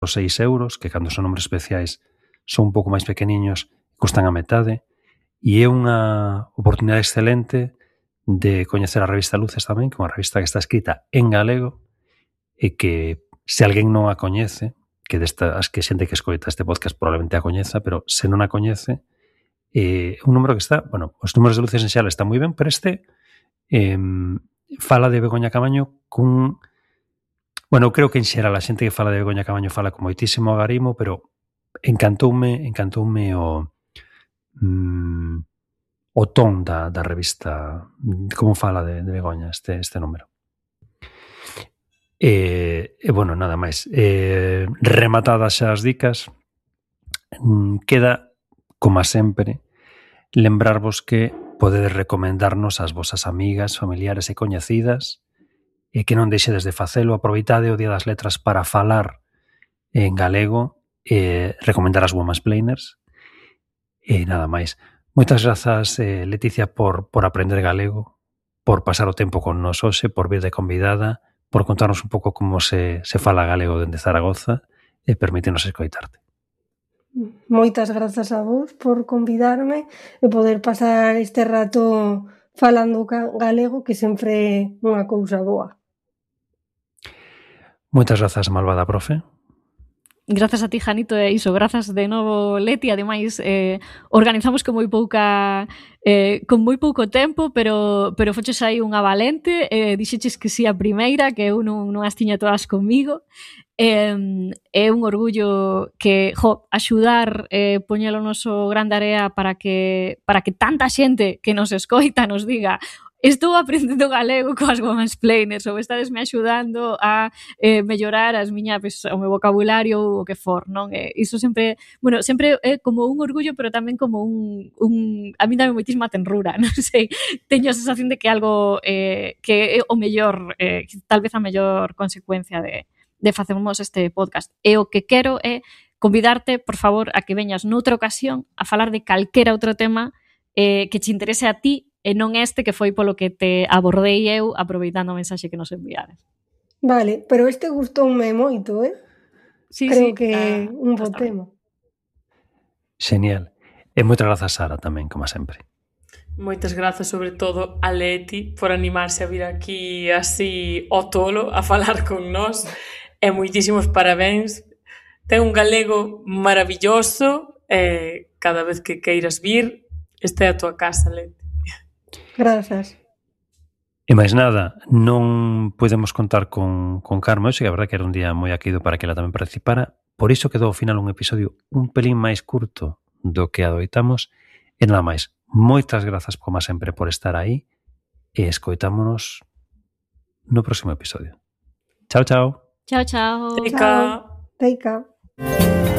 os 6 €, que cando son números especiais son un pouco máis pequeniños, custan a metade, e é unha oportunidade excelente de coñecer a revista Luces tamén, que é unha revista que está escrita en galego e que se alguén non a coñece, que destas que xente que escoita este podcast probablemente a coñeza, pero se non a coñece, un número que está, bueno, os números de Luces en xeral están moi ben, pero este fala de Begoña Camaño cun... Bueno, eu creo que en xeral a xente que fala de Begoña Camaño fala con moitísimo agarimo, pero encantoume o ton da revista, como fala de Begoña este número. E bueno, nada máis. Rematadas xa as dicas, queda, como sempre, lembrarvos que podedes recomendarnos ás vosas amigas, familiares e coñecidas, e que non deixedes de facelo. Aproveitade o Día das Letras para falar en galego e recomendar as Womansplainers. E nada máis. Moitas grazas, Leticia, por aprender galego, por pasar o tempo con nos hoxe, por vir de convidada, por contarnos un pouco como se fala galego dende Zaragoza e permitirnos escoitarte. Moitas grazas a vos por convidarme e poder pasar este rato falando galego, que sempre é unha cousa boa. Moitas grazas, malvada profe. Grazas a ti, Janito, e iso, grazas de novo, Leti. Ademais, organizamos con moi pouco tempo, pero foches aí unha valente, dixeches que si a primeira, que eu non as tiña todas comigo. É un orgullo que, axudar, poñelo no noso grande area para que tanta xente que nos escoita nos diga: estou aprendendo galego coas Womansplainers, ou estadesme axudando a mellorar o meu vocabulario ou o que for, non? Iso sempre, bueno, sempre é como un orgullo, pero tamén como a mí dame moitísima tenrura, non sei, teño a sensación de que algo que é o mellor, tal vez a mellor consecuencia de facermos este podcast. E o que quero é convidarte, por favor, a que veñas noutra ocasión a falar de calquera outro tema que che interese a ti, e non este que foi polo que te abordei eu aproveitando a mensaxe que nos enviaras. Vale, pero este gustoume moito, Sí, creo que é un bo tema. Xenial. E moitas grazas, Sara, tamén, como sempre. Moitas grazas, sobre todo, a Leti por animarse a vir aquí así ao tolo a falar con nós, e moitísimos parabéns. Ten un galego maravilloso, e cada vez que queiras vir, este é a tua casa, Leti. Grazas. E máis nada, non podemos contar con Carme hoxe, que a verdade que era un día moi aquido para que ela tamén participara, por iso quedou ao final un episodio un pelín máis curto do que adoitamos, e nada máis. Moitas grazas, como sempre, por estar aí, e escoitámonos no próximo episodio. Chao, chao. Chao, chao. Teica. Teica.